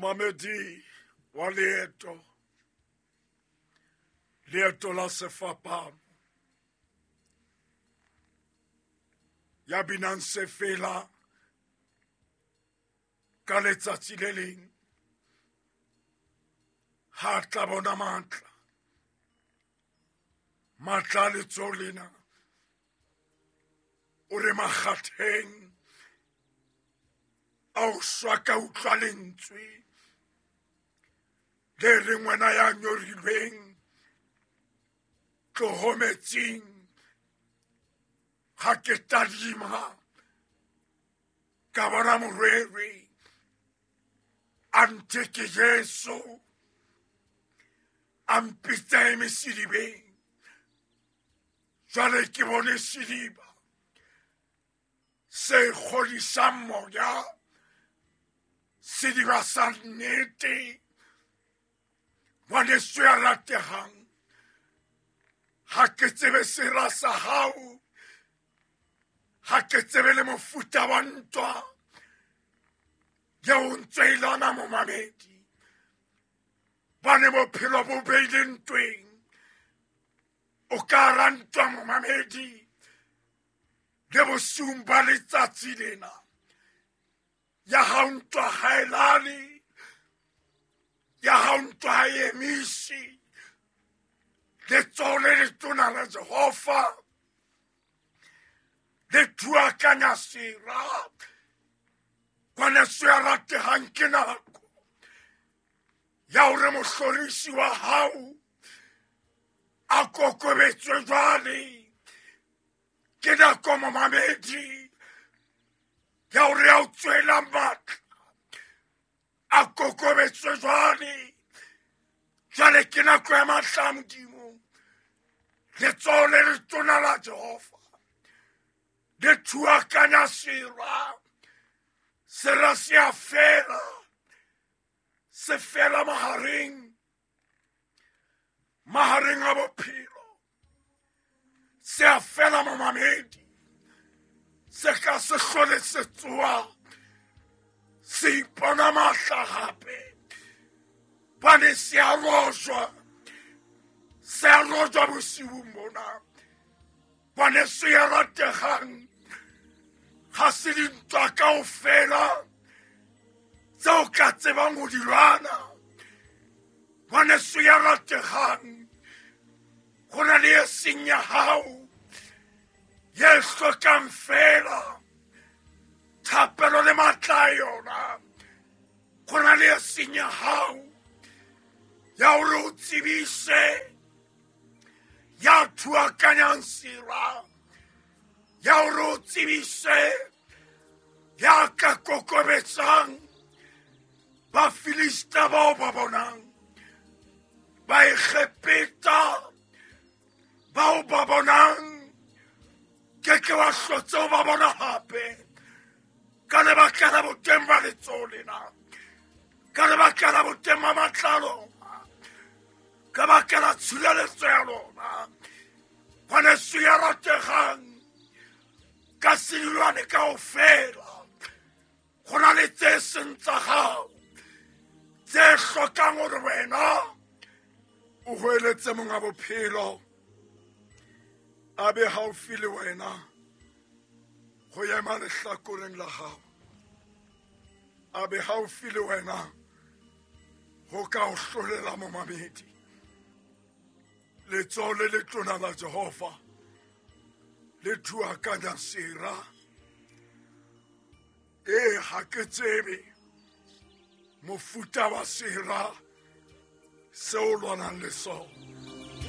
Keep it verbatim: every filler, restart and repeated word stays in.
Momamedi wa leeto, leeto la sefapano, ya binang sefela ka letsatsi le leng, ha tla bona matla, matla a letsoho lena, o re makgatheng a o shwa ka utlwa lentswe le reng wena ya nyorilweng tloho metsing, ha ke tadima ka bona morwere a nthe ke Jesu a mpitsa eme sedibeng. Jwale ke bone sediba se kgodisang moya, sediba sa nnete. Ngwaneso ya ratehang, ha ke tsebe sera sa hao, ha ke tsebe le mofuta wa ntwa eo ntse e lwana momamedi. Bane bophelo bo beile ntweng, o ka hara ntwa momamedi le bosiung ba letsatsi lena. Ya hao ntwa ha e lale, ya hao ntwa ha e emise. Letsoho le letona la Jehova le thuakanya sera. Ngwaneso ya ratehang, ke nako ya hore mohlorisi wa hao a kokobetswe jwale. Ke nako momamedi ya hore ya o tswela matla a kokobetswe jwale. Jwale ke nako ya matla a Modimo. Letsoho le letona la Jehova le thuakanya sera. Sera se a fela, se fela mahareng, mahareng a bophelo. Se a fela momamedi, se ka se hlole se tsoha, se ipona matla hape. Bane se a rojwa, se a rojwa bosiung bona. Ngwaneso ya ratehang, ha se dintwa kaofela tseo ka tsebang ho di lwana. Ngwaneso ya ratehang, ho na le e seng ya hao ye hlokang fela thapelo le matla a yona. Ho na le e seng ya hao ya hore o tsebise ya thuakanyang sera, ya hore o tsebise ya ka kokobetsang Bafilista bao ba bonang, Baegepeta bao ba bonang, ke ke wa hlotse o ba bona hape ka lebaka la boteng ba letsoho lena, ka lebaka la boteng ba matla a lona, ka baka la tshireletso ya lona. Ngwaneso ya ratehang, ka sedulwane kaofela go na le tse seng tsa hao tse hlokang hore wena o hweletse monga bophelo a be haufi le wena ho ema lehlakoreng la hao, a be haufi le wena ho ka o hlolela momamedi. Letsoho le letona la Jehova le thuakanya sera. E ha ke tsebe mofuta wa sera seo lwanang le sona.